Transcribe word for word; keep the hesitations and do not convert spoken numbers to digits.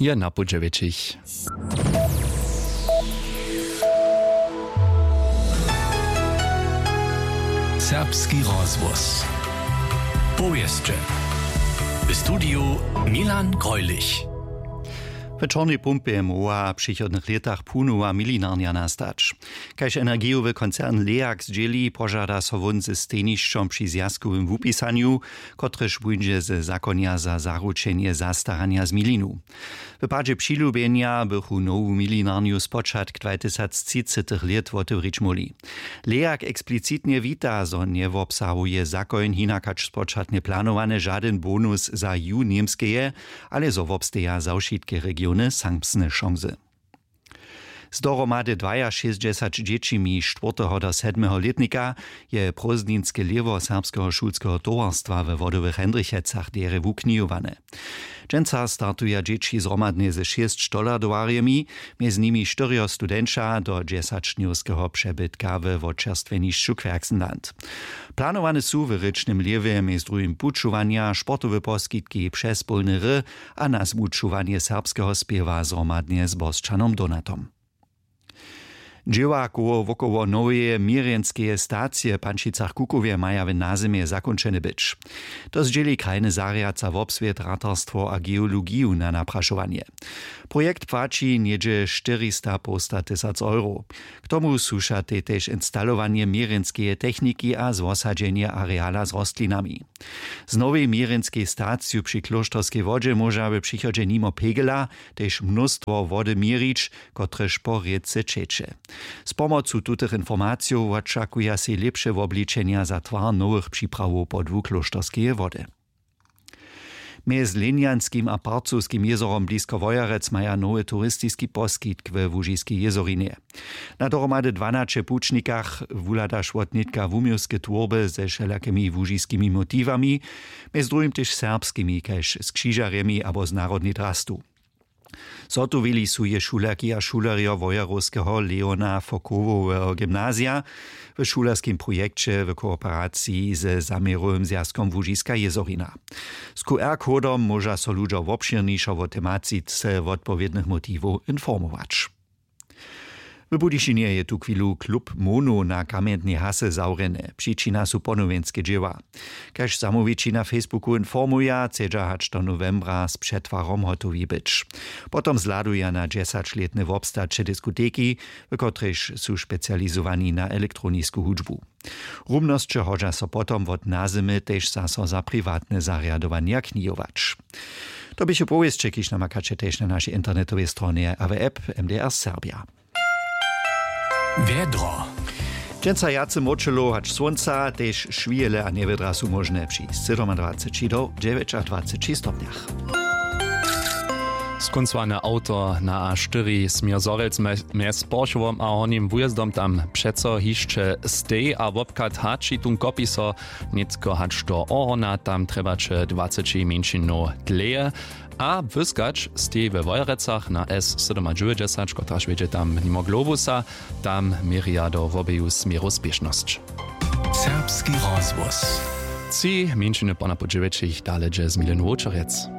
Je na pół dźewjećich. Serbski rozhłos. Powěsće. W studiju Milan Greulich. W Čornej Pumpje móhła w přichodnych lětach punowa milinarnja nastać. Kaž energijowy koncern Leag zdźěli, požada so wón ze stejnišćom při zwjazkowym wupisanju, kotrež póńdźe ze zakonja za zaručenje zastaranja z milinu. W padźe přilubjenja bychu nowu milinarnju spočatk dwatysactřicetych lět wotewrić móhli. Leag eksplicitnje wita, zo njewobsahuje zakoń hinak hač spočatnje planowane žadyn bonus za jih Němskeje, ale zo wobsteja za wšitke regiony samsne šansy. Z dohromady dwajašěsćdźesać dźěćimi štwórteho do sedmeho lětnika je prózdninske lěhwo serbskeho šulskeho towarstwa we Wodowych Hendrichecach derje wuknihowane. Dźensa startuja dźěći zhromadnje ze šěsć štolardowarjemi, mjez nimi štyrjo studenća do dźesaćdnjowskeho přebytka we wočerstwjenišću Querxenland. Planowane su w rěčnym lěhwje mjez druhim pućowanja, sportowe poskitki přez połny ry a nazwučowanje serbskeho spěwa zhromadnje z Bosćanom Donatom. Dźěła koło wokoło noweje měrjenskeje stacije w Pančicach-Kukowje maja w nazymje zakónčene być. To zdźěli krajny zarjad za wobswět, ratarstwo a geologiju na naprašowanje. Projekt płaći něhdźe štyrista połsta tysac euro. K tomu słušatej tež instalowanje měrjenskeje techniki a zwosadźenje areala z rostlinami. Z nowej měrjenskej staciju při klóšterskej wodźe móža w přichodźe nimo pegela tež mnóstwo wody měrić, kotrež po rěce ćeče. Z pomocu tutych informacijow wočakuja sej lěpše wobličenja za twar nowych připrawow podłu klóšterskeje wody. Mjez Lenjanskim a Parcowskim jězorom blisko Wojerec maja nowy turistiski poskitk we Łužiskej jězorinje. Na dohromady dwanaće pućnikach wuhladaš wotnětka wuměłske twórby ze wšelakimi łužiskimi motiwami, mjez druhim tež serbskimi, kaž z křižarjemi abo z narodnej drastu. Zhotowili su je šulerki a šulerjo Wojerowskeho Leona Fokowoweho gymnazija w šulerskim projekće w kooperaciji ze zaměrowym zwjazkom Łužiska jězorina. Z Q R-kodom móža so ludźo wobšěrnišo wo tematice wotpowědnych motiwow informować. W Budyšinje je tuchwilu klub Mono na Kamjentnej hasy zawrjeny. Přičina su ponowjenske dźěła. Kaž zamołwići na Facebooku informuja, chcedźa hač do nowembra z přetwarom hotowi być. Potom zhladuja na dźesaćlětny wobstaće diskoteki, w kotrejž su specializowani na elektronisku hudźbu. Rumnosće hodźa so potom wot nazymy tež zaso za priwatne zarjadowanja knihować. To běchu powěsće, kiž namakaće tež na našej internetowej stronje a w app M D R Serbia. Wjedro. Dźensa wjace mróčelow hač słónca, tež šwijele a njewědra su móžne při sydomadwaceći do dźewjećadwaceći stopnjach. Skóncowane awto na A štyri směr Zhorjelc mje-, mjez Porchowom a Hornim Wójezdom tam přeco hišće steji a wobchad hači tón kopi so nětko hač do Ohorna, tam trjebaće dwaceći mjeńšinow dlěje. A wyskać steji we Wojerecach na S sydomadźewjećdźesat, kotraž wjedźe tam nimo Globusa, tam měrja do wobeju směrow spěšnosć. Serbski rozhłos. Tři mjeńšiny po na po dźewjećich dale dźe z Milenu Wočerjec.